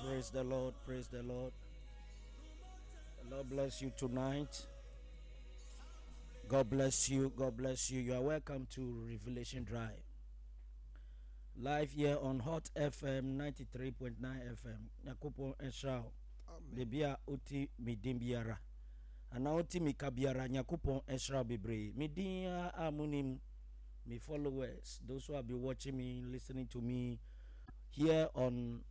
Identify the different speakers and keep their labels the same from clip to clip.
Speaker 1: Praise the Lord. Praise the Lord. The Lord bless you tonight. God bless you. God bless you. You are welcome to Revelation Drive. Live here on Hot FM 93.9 FM. Nyankopɔn nhyira wo. Baabi a wote me din biara anaa wote me ka biara, Nyankopɔn nhyira wo bebree. Me din a monim, me followers, those who have been watching me, listening to me here on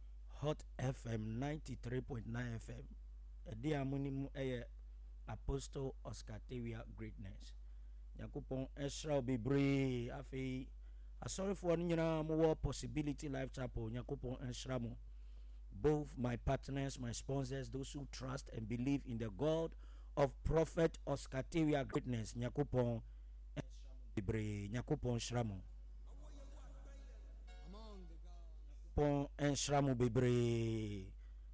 Speaker 1: Hot FM 93.9 FM. Ɛde a monim ɛyɛ Apostle Oscar Tewia Greatness. Nyankopɔn nhyira wo bebree. Afei asɔrefoɔ no nyinaa mowɔ Possibility Life Chapel, Nyankopɔn nhyira mo. Both my partners, my sponsors, those who trust and believe in the God of Prophet Oscar Tewia Greatness, Nyankopɔn nhyira mo bebree. Nyankopɔn nhyira mo. Nyankopɔn nhyira mo bebree.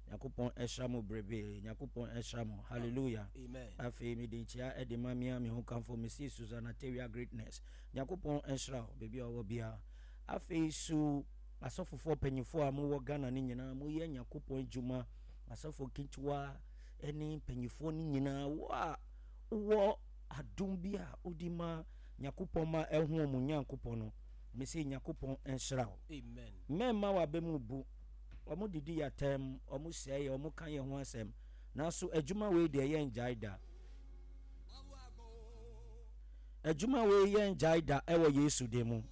Speaker 1: Nyankopɔn nhyira mo bebree. Nyankopɔn nhyira mo. Hallelujah.
Speaker 2: Amen.
Speaker 1: Afei mede nkyia de ma me a me ho kamfo Mrs. Susanna Tewia Greatness. Nyankopɔn nhyira wo baabi a ɔwɔ biara. Afei so asɔfofoɔ mpanyinfoɔ a mowɔ Ghana no nyinaa moyɛ Nyankopɔn adwuma, asɔfo nketewa ne mpanyinfoɔ no nyinaa, wo a wowɔ adom bi a wode ma Nyankopɔn ma ɛho wɔn Nyankopɔn no, mese Nyankopɔn nhyira wo.
Speaker 2: Amen.
Speaker 1: Mɛmma w'aba mu bu. Wɔn didi yɛ atɛm, wɔn sɛe yɛ, wɔn ka yɛn ho asɛm. Nanso adwuma wei deɛ yɛn gyae da. Adwuma wei yɛn gyae da ɛwɔ Yesu din mu.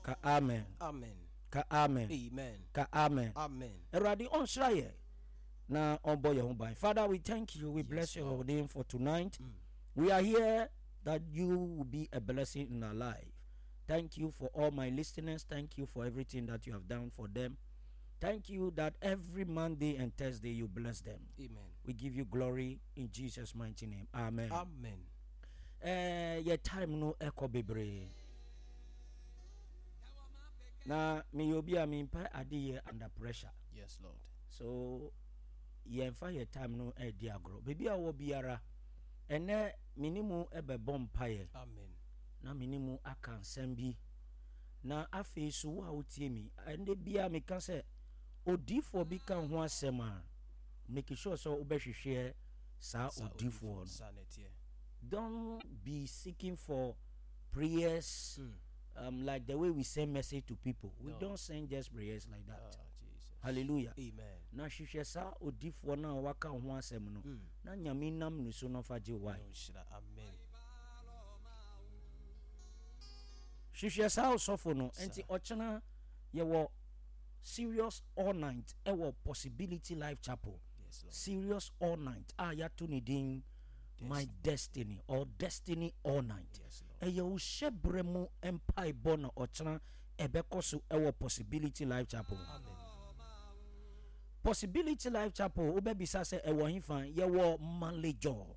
Speaker 1: Ka amen.
Speaker 2: Amen.
Speaker 1: Ka amen.
Speaker 2: Amen.
Speaker 1: Ka amen.
Speaker 2: Amen.
Speaker 1: Awurade ɔnhyira yɛ na ɔbɔ yɛn ho ban. Father, we thank you. We
Speaker 2: Yes,
Speaker 1: bless your
Speaker 2: Lord.
Speaker 1: name for tonight. We are here that you will be a blessing in our life. Thank you for all my listeners. Thank you for everything that you have done for them. Thank you that every Monday and Thursday you bless them.
Speaker 2: Amen.
Speaker 1: We give you glory in Jesus' mighty name. Amen.
Speaker 2: Amen.
Speaker 1: Yɛ time no ɛkɔ bebree. Na meyɛ obi a mempɛ ade yɛ under pressure.
Speaker 2: Yes, Lord.
Speaker 1: So yɛmfa yɛ time no ɛdi agorɔ. Baabi a wɔ biara, ɛnɛ me ne mu ɛbɛbɔ mpaeɛ.
Speaker 2: Amen.
Speaker 1: Na me ne mu aka nsɛm bi. Na afei so wo a wotie mi, ɛnɛ bia meka sɛ odiifoɔ bi ka ho asɛm a, make sure sɛ wobɛhwehwɛ saa odiifoɔ no.
Speaker 2: Saa na ɛteɛ.
Speaker 1: Don't be seeking for prayers like the way we send message to people. We
Speaker 2: No.
Speaker 1: don't send just prayers like that.
Speaker 2: Ah, Jesus.
Speaker 1: Hallelujah.
Speaker 2: Amen.
Speaker 1: Na hwehwɛ saa odiifoɔ no a waka ho asɛm no. Na Nyame nam ne so no fa gye wae.
Speaker 2: No nhyira. Amen.
Speaker 1: Hwehwɛ saa ɔsɔfo no.
Speaker 2: Saa.
Speaker 1: Nti ɔkyena yɛwɔ serious all night ɛwɔ Possibility Life Chapel.
Speaker 2: Yes, Lord.
Speaker 1: Serious all night a yɛato ne din My Destiny or Destiny All Night.
Speaker 2: Yes, Lord.
Speaker 1: Ɛyɛ wo hyɛbrɛ mu mpaebɔ na ɔkyena ɛbɛkɔ so ɛwɔ Possibility Life Chapel.
Speaker 2: Amen.
Speaker 1: Possibility Life Chapel wobɛbisa sɛ ɛwɔ hefa? Yɛwɔ Malejɔ.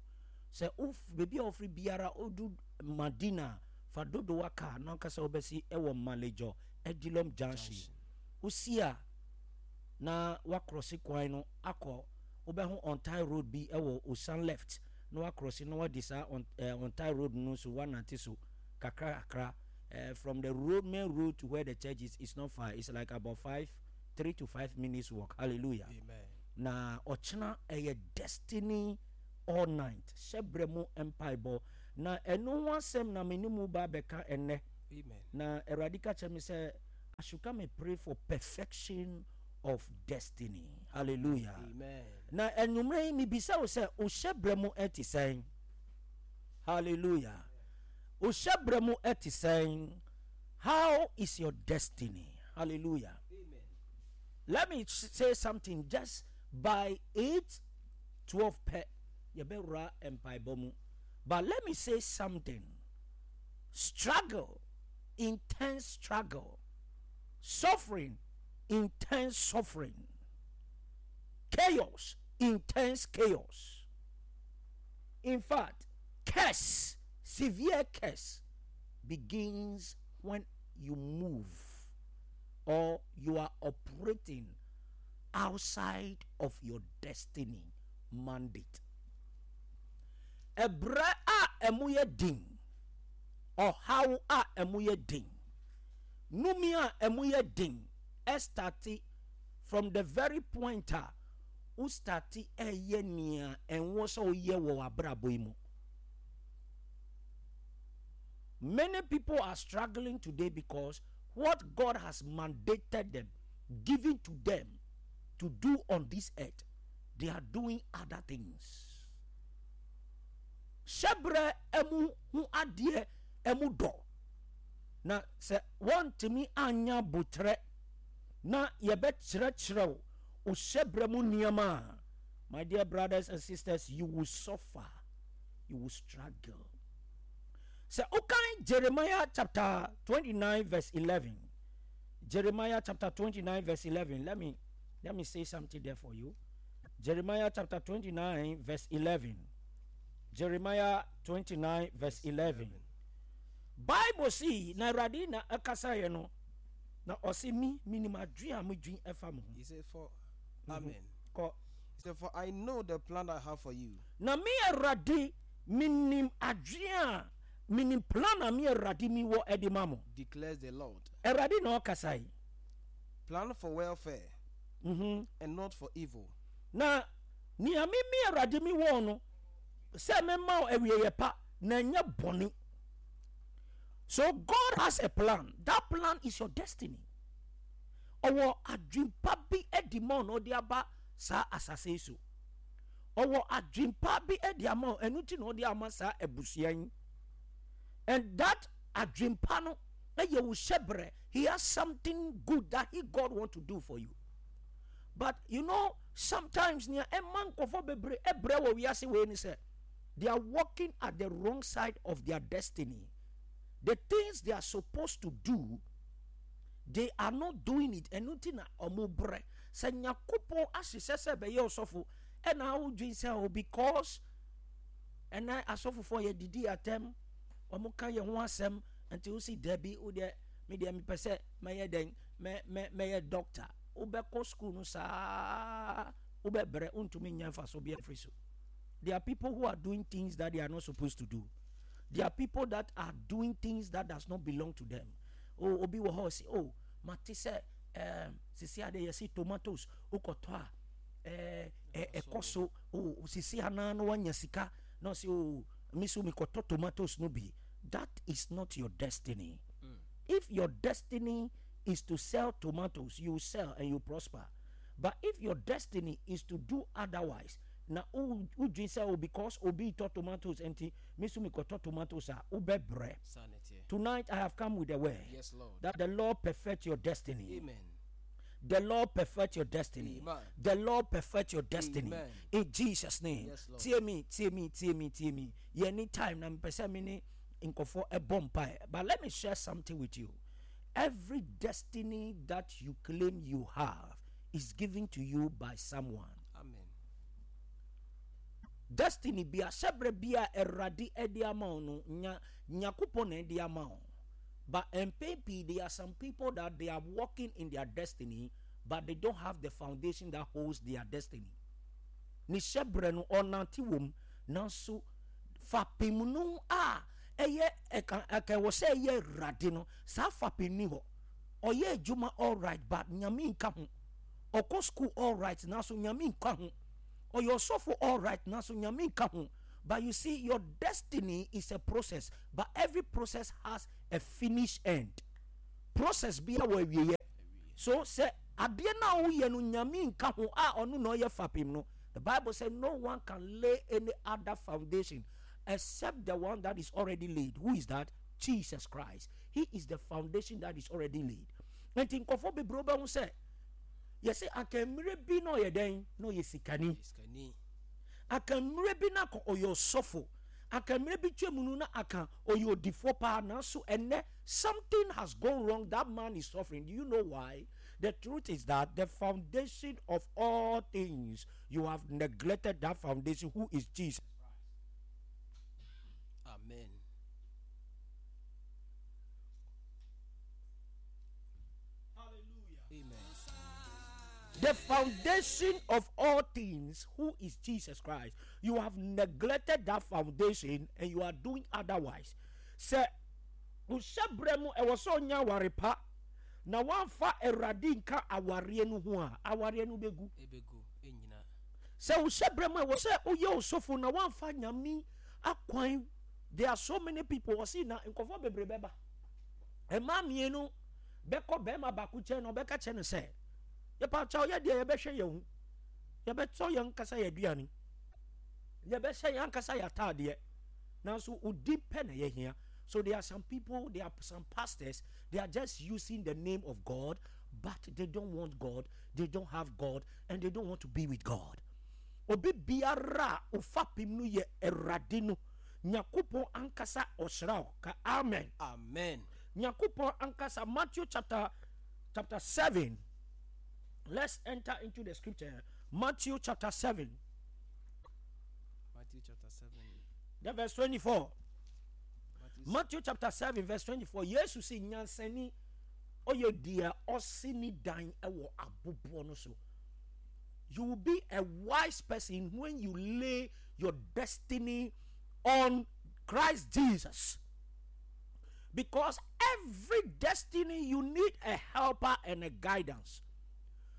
Speaker 1: Sɛ wo baabi a wofiri biara wodu Madina fa dodowa kaa na ankasa wobɛsi ɛwɔ Malejɔ Edilom Junction.
Speaker 2: Junction.
Speaker 1: Wosi a na wakrɔse kwan no akɔ wobɛho on tie road bi ɛwɔ Osan left na wakrɔse na wadi saa on tie road no so wanante so kakra kakra. From the road, main road to where the church is, it's not far. It's like about 3 to 5 minutes walk. Hallelujah.
Speaker 2: Amen.
Speaker 1: Na ɔkyena ɛyɛ destiny all night. Hyɛbrɛ mu mpaebɔ. Na ɛno ho asɛm na me ne mu ba bɛka ɛnnɛ.
Speaker 2: Amen.
Speaker 1: Na Awurade ka kyerɛ me sɛ I should come and pray for perfection of destiny. Hallelujah.
Speaker 2: Amen.
Speaker 1: Na enwumere yi mibisa wo sɛ wo hyɛbrɛ mu ɛte sɛn? Hallelujah. Wo hyɛbrɛ mu ɛte sɛn? How is your destiny? Hallelujah.
Speaker 2: Amen.
Speaker 1: Let me say something just by 8:12 pɛ yɛbɛwura mpaebɔ mu. But let me say something. Struggle, intense struggle, suffering, intense suffering, chaos, intense chaos. In fact, curse, severe curse, begins when you move or you are operating outside of your destiny mandate. Ɛbrɛ a ɛmu yɛ den, ɔhaw a ɛmu yɛ den, numi a ɛmu yɛ den, ɛstarte From the very point a wo starte ɛyɛ nea ɛnwɔ sɛ woyɛ wɔ w'abrabɔ yi mu. Many people are struggling today because what God has mandated them, given to them to do on this earth, they are doing other things. Hyɛbrɛ ɛmu ho adeɛ ɛmu dɔ na sɛ wɔntumi anya botrɛ na yɛbɛkyerɛkyerɛ wo wo hyɛbrɛ mu nneɛma a, my dear brothers and sisters, you will suffer, you will struggle. Sɛ wokan Jeremiah chapter 29 verse 11, Jeremiah chapter 29 verse 11, let me, let me say something there for you. Jeremiah chapter 29 verse 11. Jeremiah 29 verse 11. Bible see na Awurade na ɛkasa yɛ no na ɔse me menim adwene a medwen ɛfa mo ho.
Speaker 2: He said for Amen. Kɔ. He said for I know the plan I have for you.
Speaker 1: Na me Awurade menim adwene a menim plan a me Awurade mi wɔ ɛde ma mo.
Speaker 2: Declares the Lord.
Speaker 1: Awurade na ɔkasa yi.
Speaker 2: Plan for welfare and not for evil.
Speaker 1: Na nea me me Awurade mi wɔ no sɛ mɛma wo awieeɛ pa na ɛnyɛ bɔne. So God has a plan. That plan is your destiny. Ɔwɔ adwempa bi adi ma wo na ɔde aba saa asase yi so. Ɔwɔ adwempa bi adi ama wo, ɛno nti na ɔde ama saa abusua yi. And that adwempa no ɛyɛ wo hyɛbrɛ. He has something good that he God want to do for you. But you know, sometimes nea ɛma nkɔfɔ bebree ɛbrɛ wɔ wiase wei ni sɛ they are walking at the wrong side of their destiny. The things they are supposed to do, they are not doing it. Ɛno nti na ɔmo brɛ. Sɛ Nyakopɔn ahyehyɛ sɛ bɛyɛ ɔsɔfo, ɛna awodwen sɛ o because ɛnɛ asɔfofoɔ yɛ didi atɛm, ɔmo ka yɛn ho asɛm, nti wosi dabi, wo deɛ, me deɛ mepɛ sɛ mɛyɛ dɛn, mɛ mɛ mɛyɛ doctor. Wobɛkɔ school no saa, wobɛbrɛ, wontumi nya mfaso bi afiri so. There are people who are doing things that they are not supposed to do. There are people that are doing things that does not belong to them. Oh, obi wɔ hɔ ɔsi, oh, mate sɛ ɛɛm sisi ade yɛsi tomatoes wokɔtɔ a ɛɛ ɛ ɛkɔ so. Oh, sisi anaa no wanya sika na ɔsi oh, mi so mekɔtɔ tomatoes no bi. That is not your destiny. Mm. If your destiny is to sell tomatoes, you sell and you prosper. But if your destiny is to do otherwise, na wodwen sɛ oh because obi retɔ tomatoes nti me nso mekɔtɔ tomatoes a, wobɛbrɛ. Tonight I have come with a word
Speaker 2: yes, Lord.
Speaker 1: that the Lord perfect your destiny.
Speaker 2: Amen.
Speaker 1: The Lord perfect your destiny.
Speaker 2: Amen.
Speaker 1: The Lord perfect your destiny.
Speaker 2: Amen.
Speaker 1: In Jesus' name.
Speaker 2: Yes, Lord.
Speaker 1: Tie me, tie me, tie me, tie me. Any time na mepɛ sɛ me ne nkɔfoɔ ɛbɔ mpae. But let me share something with you. Every destiny that you claim you have is given to you by someone.
Speaker 2: Amen.
Speaker 1: Destiny bi a hyɛbrɛ bi a Awurade ɛde ama wo no, nya Nyankopɔn na ɛde ama wo. But mpɛn pii there are some people that they are walking in their destiny but they don't have the foundation that holds their destiny. Ne hyɛbrɛ no ɔnante wɔ mu nanso fapem no a ɛyɛ ɛka ɛka ɛwɔ sɛ ɛyɛ Awurade no saa fapem ni hɔ. Ɔyɛ adwuma alright but Nyame nka ho. Ɔkɔ school alright nanso Nyame nka ho. Ɔyɛ ɔsɔfo alright nanso Nyame nka ho. But you see, your destiny is a process, but every process has a finish end. Process bia wɔ awieɛ. So sɛ adeɛ no a woyɛ no Nyame nka ho a ɔno na ɔyɛ fapem no, the Bible said no one can lay any other foundation except the one that is already laid. Who is that? Jesus Christ. He is the foundation that is already laid. Nti nkɔfo bebree wobɛhu sɛ yɛsɛ anka mmerɛ bi na ɔyɛ dɛn na ɔyɛ sikani. Anka mmerɛ bi na ɔyɛ ɔsɔfo. Anka mmerɛ bi twam no na anka ɔyɛ odifoɔ paa nanso ɛnɛ something has gone wrong that man is suffering. Do you know why? The truth is that the foundation of all things you have neglected that foundation who is Jesus
Speaker 2: Christ. Amen.
Speaker 1: Hallelujah.
Speaker 2: Amen.
Speaker 1: The foundation of all things, who is Jesus Christ. You have neglected that foundation and you are doing otherwise. Sɛ wohyɛ berɛ mu ɛwɔ sɛ ɔnya aware pa. na woamfa Awurade nka awareɛ no ho a, awareɛ no bɛgu.
Speaker 2: Ɛbɛgu, ɛnnyina.
Speaker 1: Sɛ wo hyɛbrɛ mu a, ɛwɔ sɛ woyɛ osofo na woamfa Nyame akwan. There are so many people, ɔse na nkurɔfoɔ bebree bɛba. Mmaa mmienu bɛkɔ barima baako nkyɛn na ɔbɛka kyerɛ no sɛ, yɛpa kyɛw yɛ deɛ yɛbɛhwɛ yɛn ho, yɛbɛtɔ yɛn ankasa yɛn aduane, yɛbɛhyɛ yɛn ankasa yɛn ataadeɛ, nanso wo din pɛ na yɛhia. So there are some people, there are some pastors, they are just using the name of God, but they don't want God, they don't have God, and they don't want to be with God. Obi biara a ofapem no yɛ Awurade no, Nyankopɔn ankasa ɔhyira wo. Ka amen.
Speaker 2: Amen.
Speaker 1: Nyankopɔn ankasa, Matthew chapter chapter 7. Let's enter into the scripture. Matthew chapter 7.
Speaker 2: Matthew chapter 7.
Speaker 1: The verse 24. Matthew chapter 7 verse 24. Yesu si nyansani ɔyɛ deɛ ɔsi ne dan wɔ aboboɔ no so. You will be a wise person when you lay your destiny on Christ Jesus. Because every destiny you need a helper and a guidance.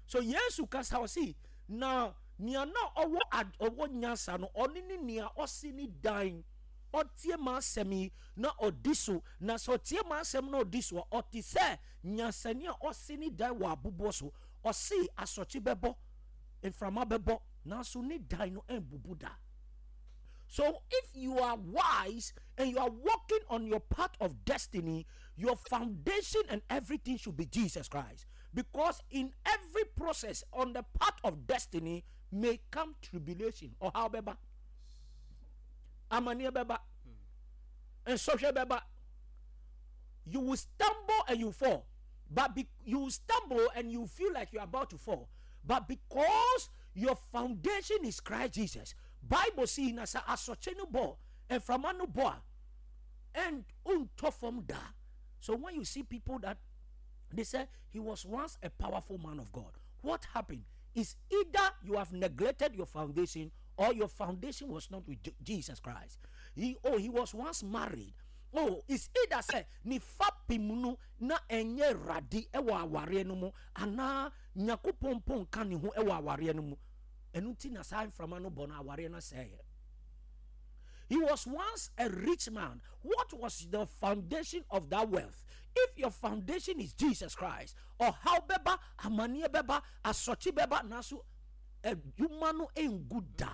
Speaker 1: So Yesu kasa ɔsi na nea na ɔwɔ ɔwɔ nyansa no ɔne ne nea ɔsi ne dan ɔtie m'asɛm yi na ɔdi so na sɛ ɔtie m'asɛm na ɔdi so a ɔte sɛ nyansani a ɔsi ne dan wɔ aboboɔ so ɔsi asɔkye bɛbɔ mframa bɛbɔ nanso ne dan no ɛnbubu da. So if you are wise and you are walking on your path of destiny, your foundation and everything should be Jesus Christ. Because in every process on the path of destiny may come tribulation or how beba. Amaneɛ bɛba. Nsɔhwɛ bɛba. You will stumble and you fall. But be, you stumble and you feel like you're about to fall. But because your foundation is Christ Jesus, Bible see na sɛ asɔkye no bɔ, mframa no bɔ a, and wontɔ fam da. So when you see people that they say he was once a powerful man of God, what happened is either you have neglected your foundation or your foundation was not with Jesus Christ. He oh he was once married. Oh, it's either sɛ ne fapem no na ɛnyɛ Awurade wɔ awareɛ no mu anaa Nyankopɔn mpo nka ne ho wɔ awareɛ no mu. Ɛno nti na saa mframa no bɔ no awareɛ no sɛeɛ. He was once a rich man. What was the foundation of that wealth? If your foundation is Jesus Christ, ɔhaw bɛba, amaneɛ bɛba, asɔkye bɛba, nanso adwuma no ngu da.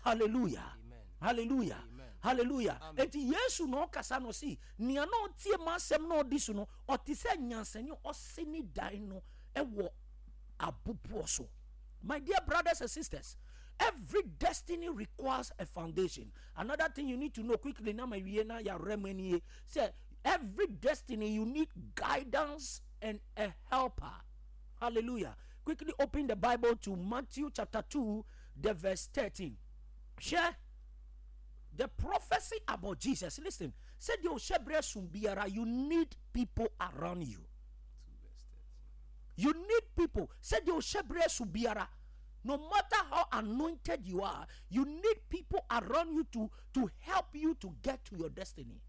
Speaker 1: Hallelujah.
Speaker 2: Amen.
Speaker 1: Hallelujah.
Speaker 2: Amen.
Speaker 1: Hallelujah.
Speaker 2: Amen.
Speaker 1: Enti Yesu na ɔkasa no ɔsi, nea na ɔtie m'asɛm na ɔdi so no, ɔte sɛ nyansani a ɔsi ne dan no wɔ aboboɔ so. My dear brothers and sisters, every destiny requires a foundation. Another thing you need to know quickly, na ma wie na ya remenie, sɛ every destiny you need guidance and a helper. Hallelujah. Quickly open the Bible to Matthew chapter 2, the verse 13. Share the prophecy about Jesus. Listen, said you need people around you. You need people. Said no matter how anointed you are, you need people around you to, to help you to get to your destiny.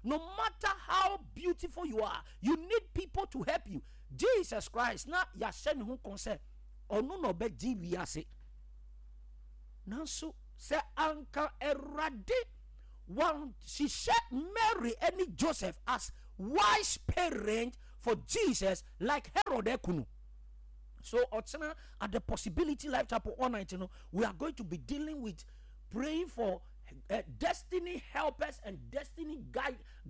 Speaker 1: No matter how beautiful you are, you need people to help you. Jesus Christ, na yɛahyɛ ne ho kɔn sɛ ɔno na ɔbɛgye wiase. Nanso sɛ anka Awurade wanhyehyɛ Mary ne Joseph as wise parent for Jesus like Herod ekunu. So ɔkyena at the Possibility Life Chapel all night no, we are going to be dealing with praying for destiny helpers and destiny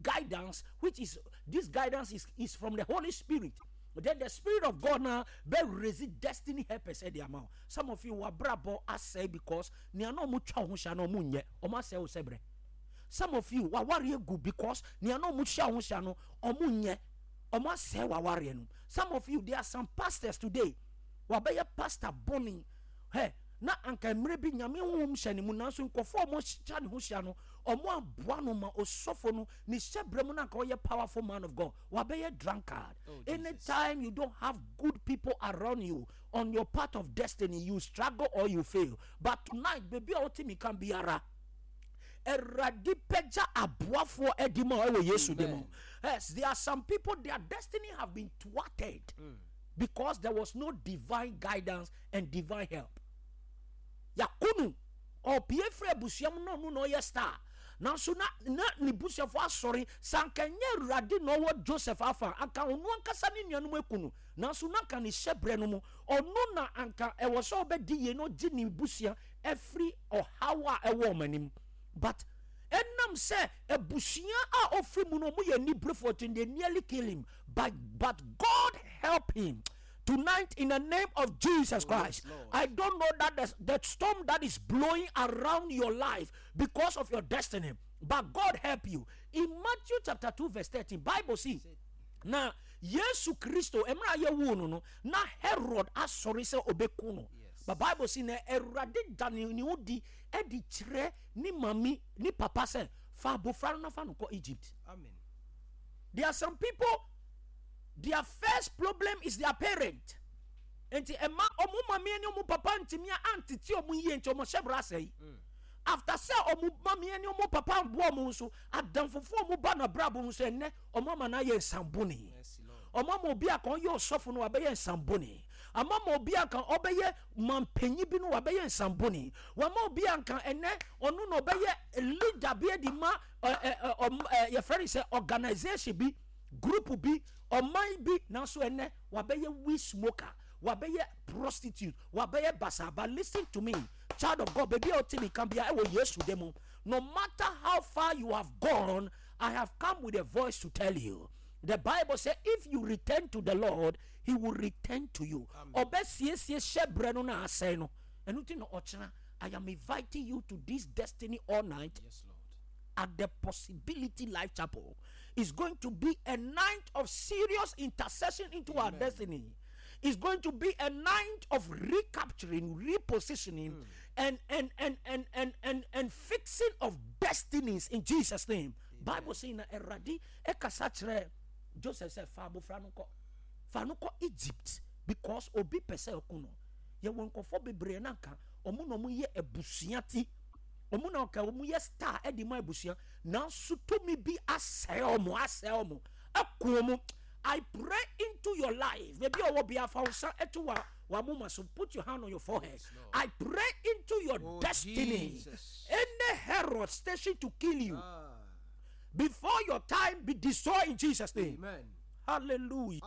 Speaker 1: guidance, which is this guidance is from the Holy Spirit. Then the Spirit of God now be raise destiny helpers at the amount. Some of you were brabo asɛ because nea na ɔmo twa ho hyia no ɔmo nyɛ ɔmo asɛ wo sɛbrɛ. Some of you were worry good because nea na ɔmo hyia ho hyia no ɔmo nyɛ ɔmo asɛ wa worry no. Some of you, there are some pastors today. Wabɛyɛ pastor bɔne. Hey, na anka mmerɛ bi Nyame honhom hyɛ ne mu, nanso nkurɔfoɔ a ɔmo hyia ne ho hyia no, ɔmo aboa no ma osɔfo no ne hyɛbrɛ mu na anka ɔyɛ powerful man of God. Wabɛyɛ drunkard.
Speaker 2: Oh, Jesus.
Speaker 1: Anytime you don't have good people around you on your path of destiny, you struggle or you fail. But tonight, baby, a wote mi ka biara. Awurade pɛgya aboafoɔ adi ma ɛwɔ Yesu de mu. Yes, there are some people their destiny have been thwarted because there was no divine guidance and divine help. Yakunu ɔpie firi abusua mu na ɔno na ɔyɛ star nanso na na ne busuafoɔ asɔre sanka nyɛ Awurade na ɔwɔ Joseph afa anka ɔno ankasa ne nuanom eku no nanso na anka ne hyɛbrɛ no mu ɔno na anka ɛwɔ sɛ ɔbɛdi yie na ɔgye ne busua afiri ɔhaw a ɛwɔ wɔn anim but ɛnam sɛ abusua a ɔfiri mu no wɔn yɛ aniberefoɔ nti they nearly kill him but but God help him tonight in the name of Jesus oh, Christ. Yes, I don't know that the, the storm that is blowing around your life because of your destiny, but God help you. In Matthew chapter 2, verse 13, Bible see. Na Yesu Kristo mmerɛ a yɛwoo no no na Herod asɔre sɛ ɔbɛku no but Bible si na Awurade da ne ne ho di de kyerɛ ne mami ne papa sɛ fa abofra no na fa no kɔ Egypt.
Speaker 2: Amen.
Speaker 1: There are some people their first problem is their parent. Nti ɛma ɔmo mami ne ɔmo papa ntumi antete ɔmo yie nti ɔmo hyɛ bra asɛe. After sɛ ɔmo mami ne ɔmo papa mboa ɔmo nso adamfofo ɔmo ba na brabɔ nso ɛnɛ ɔmo ama no ayɛ nsambɔne. Ɔmo ama obi a kan ɔyɛ ɔsɔfo no wabɛyɛ nsambɔne. Ama ma obi a kan ɔbɛyɛ mampanyin bi no wabɛyɛ nsambɔne. Wama obi a nka ɛnɛ ɔno na ɔbɛyɛ leader bi adi ma ɛ ɛ ɔm ɛ yɛfrɛ no sɛ organisation bi, group bi, ɔman bi nanso ɛnɛ wabɛyɛ weed smoker, wabɛyɛ prostitute, wabɛyɛ basaa. But listen to me, child of God, baabi a ɔte mi ka bia ɛwɔ Yesu de mu. No matter how far you have gone, I have come with a voice to tell you. The Bible says, if you return to the Lord, He will return to you. Ɔbɛsiesie hyɛbrɛ no na asɛe no. Ɛno nti na ɔkyena, I am inviting you to this destiny all night.
Speaker 2: Yes, Lord.
Speaker 1: At the Possibility Life Chapel. It's going to be a night of serious intercession into our destiny. It's going to be a night of recapturing, repositioning, and, and, and, and, and, and, and fixing of destinies in Jesus' name. Bible saying na Awurade ɛkasa kyerɛ Joseph sɛ fa abofra no kɔ fa no kɔ Egypt because obi pɛ sɛ ɔko no. Yɛwɔ nkurɔfoɔ bebree na nka ɔmo na ɔmo yɛ abusua ti. Ɔmo na ɔka ɔmo yɛ star ɛde ma abusua nanso tumi bi asɛe ɔmo asɛe ɔmo ɛko ɔmo. I pray into your life. Maybe ɔwɔ bia fa wo nsa ɛto wa w'amoma so. Put your hand on your forehead.
Speaker 2: Yes, Lord.
Speaker 1: I pray into your
Speaker 2: Oh,
Speaker 1: destiny.
Speaker 2: Jesus.
Speaker 1: Any Herod station to kill you
Speaker 2: Ah.
Speaker 1: before your time be destroyed in Jesus' name.
Speaker 2: Amen.
Speaker 1: Hallelujah.